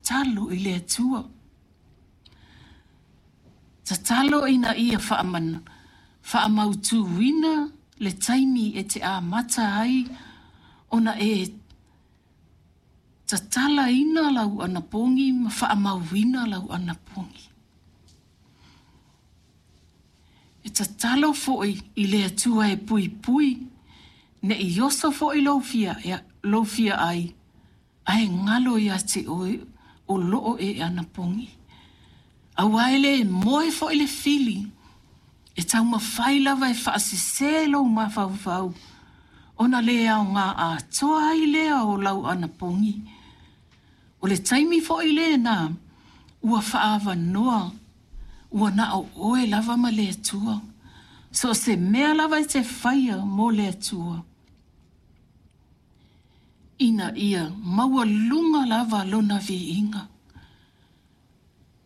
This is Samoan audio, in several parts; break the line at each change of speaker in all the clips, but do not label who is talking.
tatalo i le Atua. Tatalo ina ia faamautuina le taimi e te amata ai ona e tatalaina lau anapogi ma faamauina lau anapogi. E tatalo foi i le Atua e puipui ne i oso foi lou fia, lou fia ai, ae galo ia te oe o loo e anapogi. Aua e le moe foi le fili, e taumafai lava e faasese lou mafaufau, ona le aoga atoa ai lea o lau anapogi. O le taimi foi lena ua faaavanoa ua na o oe lava ma le Atua. So o se mea lava e te faia mo le Atua, ina ia maualuga lava lona viiga.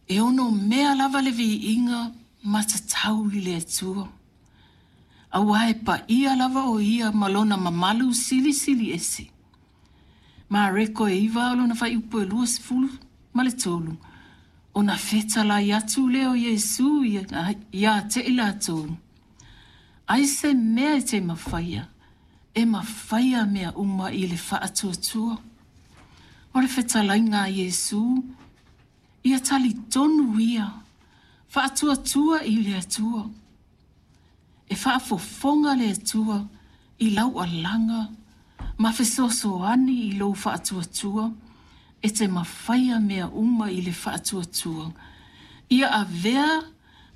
E ono mea lava le viiga ma tatau i le Atua. Aua e paia lava o ia ma lona mamalu silisili ese. Mareko e 9 o lona fuaiupu e 23, ona fetalai atu lea o Iesu ia te i latou, ai se mea e te mafaia, e mafaia mea uma i le faatuatua. O le fetalaiga a Iesu, ia talitonu ia, faatuatua i le Atua. E faafofoga le Atua i lau alaga ma fesoasoani i lou faatuatua e te mafaia mea uma i le faatuatua. Ia avea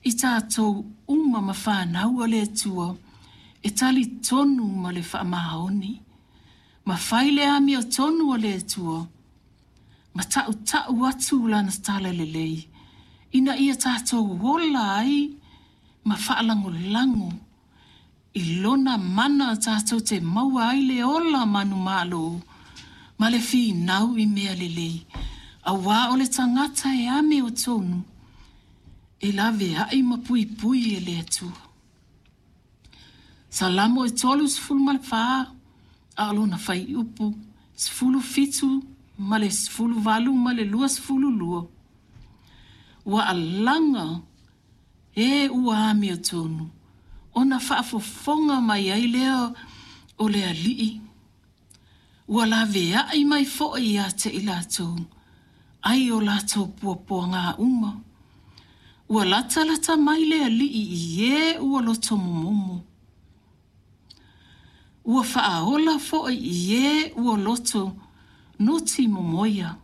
i tatou uma ma fanau a le Atua e talitonu ma le faamaoni. Ma fai le amiotonu a le Atua ma tautau atu lana tala lelei ina ia tatou ola ai ma faalagolago i lona mana tatou te maua ai le ola manumalo ma le finau i mea lelei, auā o le tagata e amiotonu e laveai ma puipui e le Atua. Salamo e 34, a o lona fuaiupu 17 ma le 18 ma le 22, ua alaga e ua amiotonu, ona faafofoga mai ai lea o le Alii, ua laveai mai foi ia te i latou, ai o latou puapuaga uma. Ua latalata mai le Alii i e ua loto momomo. Ua faaola foi i e ua loto nuti momoia.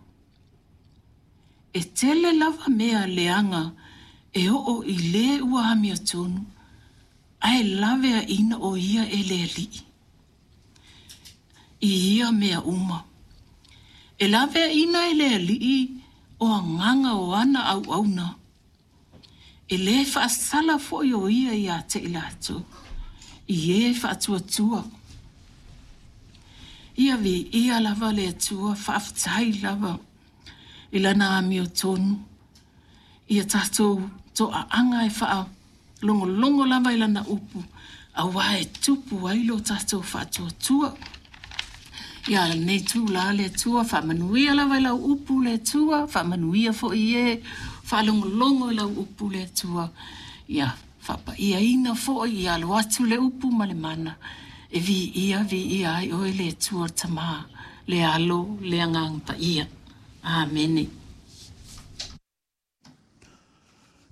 E tele lava mea leaga e oo i le ua amiotonu, ae laveaiina o ia e le Alii i ia mea uma. E laveaiina e le Alii o agaga o ana auauna. E lē faasala foi o ia ia te i latou, i e faatuatua. Ia viia lava le Atua, faafetai lava i lana amiotonu. Ia tatou toaaga e faalogologo lava i lana upu, auā e tupu ai lo tatou faatuatua. Ia lenei itulā le Atua, faamanuia lava i lau upu le Atua, faamanuia foi i e faalogologo i lau upu le Atua. Ia faapaiaina foi, ia alu atu le upu ma le mana, e viia viia ai oe le Atua le Tamā, le Alo, le Agaga Paia. Amene.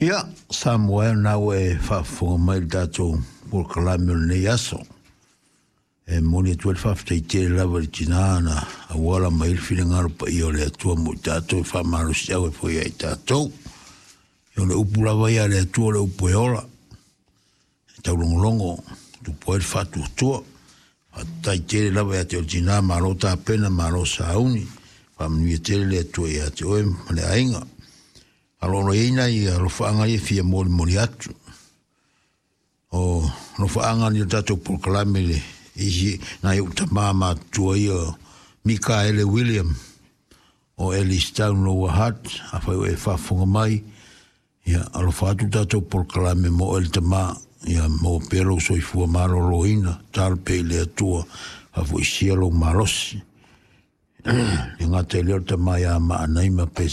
Ia, Samoa e, o lena ua e faafofoga mai i le tatou polokalame o lenei aso. E momoli atu ai le faafetai tele lava i le tina na auala mai ai le finagalo paia o le Atua mo i tatou e faamalosiau ai foi ia i tatou. O le upu lava ia a le Atua o le upu e ola, e taulogologo, tupu ai le faatuatua. Faafetai tele lava ia te oe le tina, malo tapena, malo sauni, faamanuia tele le Atua ia te oe ma le aiga. Aloalo i ai nai alofaaga ia e fia molimoli atu. O alofaaga ni o tatou polokalame le isi nai ou tama matutua ia Mikaele William o Ellistown Lower Hutt, afai o e faafofoga mai, ia alofa atu tatou polokalame mo oe le tama, ia maua pea lou soifua maloloina, talo pea i le Atua, faafoisia lou malosi. Le gata i lea o le tama ia Maanaima pe